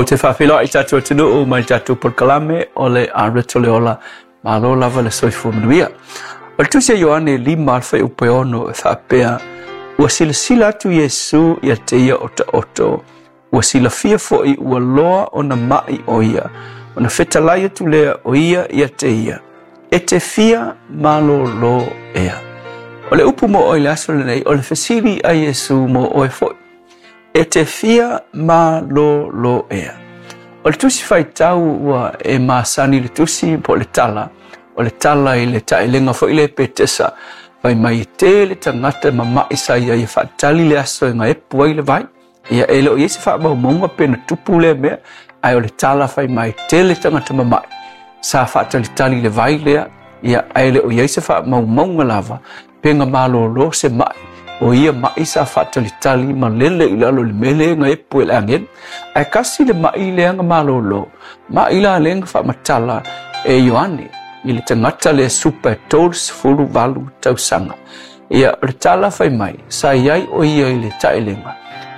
Ou te faafeiloai i tatou atunuu mai le tatou polokalame o le Areto le Ola. Malo lava le soifua manuia. O le tusi a Ioane 5 le fuaiupu e 6 e faapea, Ua silasila atu Iesu ia te ia otaoto, ua silafia foi ua loa ona ma'i o ia, ona fetalai atu lea o ia ia te ia, e te fia malōlō ea. O le upu mo oe i le aso lenei, o le fesili a Iesu mo oe foi. E te fia malōlō ea. O le tusi faitau ua e masani i le tusi po o le tala, o le tala i le taelega foi lea Petesa, fai mai e tele tagata mama'i sa i ai e faatali le aso e gaepu ai le vai. Ia e le o i ai se faamaumauga pe na tupu lea mea, ae o le tala fai mai tele tagata mama'i sa faatalitali le vai lea, ia ae le o i ai se faamaumauga lava pe na malōlō se ma'i o ia ma'i sa faatalitali ma lele i lalo i le mea lea na epu e le agelu. Ae kasi le ma'i lea na malōlō, ma'i la lea na faamatala e Ioane i le tagata lea supa e 38 tausaga. Ia, o le tala fai mai, sa i ai o ia i le taelega,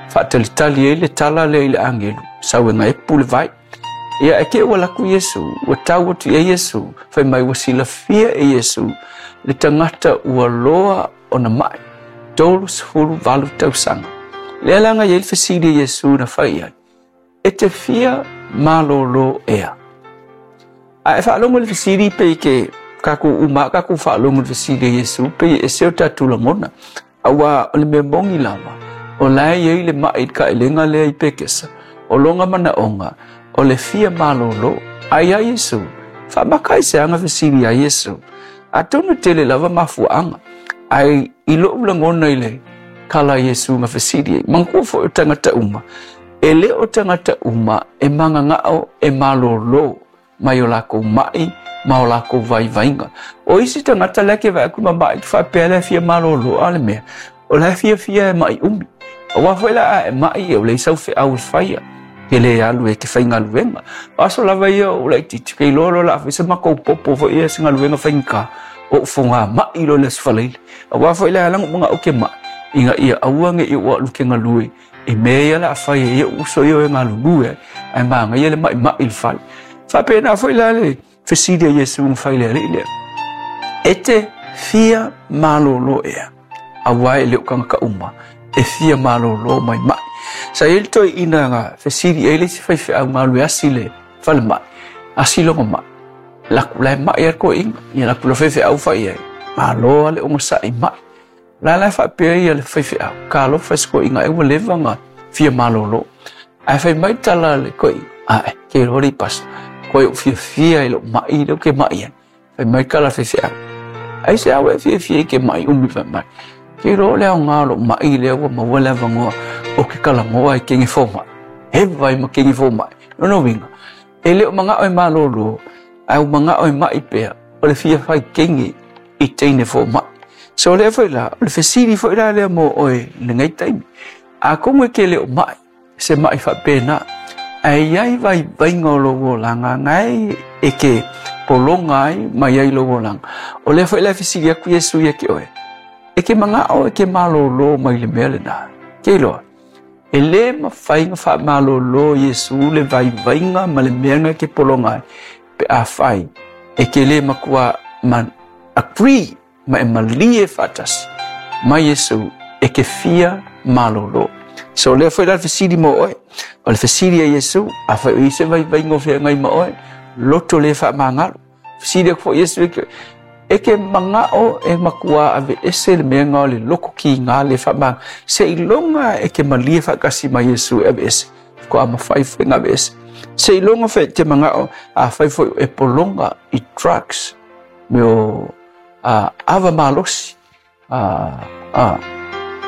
faatalitali ai le tala lea i le agelu, sau e gaepu le vai. Ia, e te ua alu atu Iesu, ua tau atu i ai Iesu, fai mai ua silafia e Iesu le tagata ua loa ona ma'i, 38 tausaga. Lea la na i ai le fesili a Iesu na fai i ai, E te fia malōlō ea? A e faalogo i le fesili pei ke kākou uma a kākou faalogo i le fesili a Iesu, pei e ese o tatou lagona. Auā o le mea moni lava, o la e i ai le maʻi i le kaelega lea i Pekesa, o lona manaʻoga, o le fia malōlō. A iā Iesū, faamaka ai se aga fesili iā Iesū. Atonu e tele lava mafuaaga, ae i loʻu lagona i le kala a Iesū na fesili ai, manatua foi o tagata uma, e le o tagata uma e mananao e malōlō mai o lakou maʻi ma o lakou vaivaiga. O isi tagata la e ke vaai atu ma maʻi ke faapea la e fia malōlō, a o le mea, o la e fiafia e maʻi ʻumi. Auā foi la a e maʻi e ʻole ai sau feʻau e faia, ke lē alu e ke faigaluega. O aso lava ia o laitiiti, ke iloa loa o le a fai se matou popo foi ia se galuega faigata, oʻu fogā maʻi loa i le Aso Faraile. Auā foi la e ala ona ou manaʻo ke maʻi, ina ia aua ne i ou alu ke galue i mea ia o le a fai e ia uso ia e galulue ai, ae manaia le maʻimaʻi i le fale. Faapena foi la le fesili a Iesu na fai i le alii lea, E te fia malōlō ea? Auā e le o tagata uma e fia malōlō mai maʻi. Sa i ai le toeaina na fesili i ai le isi faifeau galue asi i le falemai, asi lona maʻi. Laku la e maʻi a le toeaina, ia laku la faifeau fai i ai, malo a le onosai maʻi. La la e faapea ia le faifeau, talofa i se toeaina ea ua leva ona fia malōlō. Ae fai mai le tala a le toeaina, ae, ke iloa alii pasa, koe ou fiafia i lou maʻi lea ou te maʻi ai. Fai mai le tala a le faifeau, aisea ua e fiafia ai ke maʻi umi fai mai. Ke iloa o le aoga o lou maʻi lea ua maua le avanoa o ke talanoa i kene fomai. Hewa ai ma kene fomai. Lona uiga, e le o manaʻo e malōlō, ae ua manaʻo e maʻi pea, o le fia fai kene i teine fomai. So lea foi la, o le fesili foi la lea mo oe i lenei taimi. Atonu e ke le o maʻi, se maʻi faapena, ae i ai vaivaiga o lou olaga gae e ke pologa ai ma i ai lou olaga. O lea foi la e fesili atu Iesu ia te oe, e ke manaʻo e ke malōlō mai le mea lena. Ke iloa, e lē mafai ona faamalōlō Iesu le vaivaiga ma le mea na e ke pologa ai, pe afai e ke lē matua ma agree ma e malie faatasi mai Iesu e ke fia malōlō. So lea foi la le fesili mo oe, o le fesili a Iesu, afai o i ai se vaivaiga o feagai ma oe, loto lē faamagalo. Fesili atu foi Iesu e ke, e ke manaʻo e matua aveese le mea lena o le loto kīgā lē faamagalo, seiloga e ke malie faatasi ma Iesu e aveese. Faatoa mafai foi ona aveese. Seiloga foi e te manaʻo afai foi e pologa i drugs, mea o ava malosi,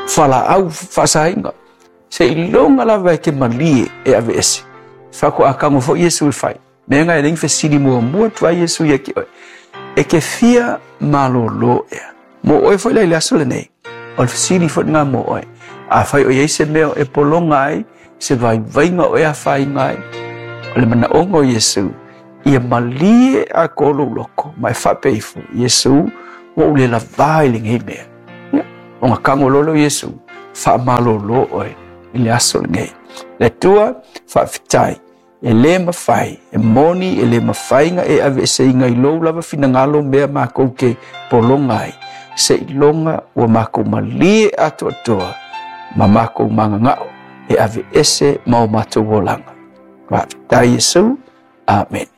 fualaau faasaina, seiloga lava e te malie e aveese. Faatoa tago foi Iesu e fai. Mea na e le fesili muamua atu ai Iesu ia te oe, E ke fia malōlō ea? Mo oe foi la i le aso lenei, o le fesili foi lena mo oe. Afai o i ai se mea e pologa ai, se vaivaiga o e afaina ai, o le manaʻoga o Iesu, ia malie atoa lou loko, ma e faapea ifo, Iesu, ua ou le lavā i lenei mea. Ia, ona tago loa lea o Iesu, faamalōlō oe i le aso lenei. Le Atua, faafetai. E lē mafai, e moni e lē mafai na e aveeseina i lou lava finagalo mea makou te pologa ai, seiloga ua makou malie atoatoa ma makou magaga'o e aveese ma o matou olaga. Faafetai Iesu. Amene.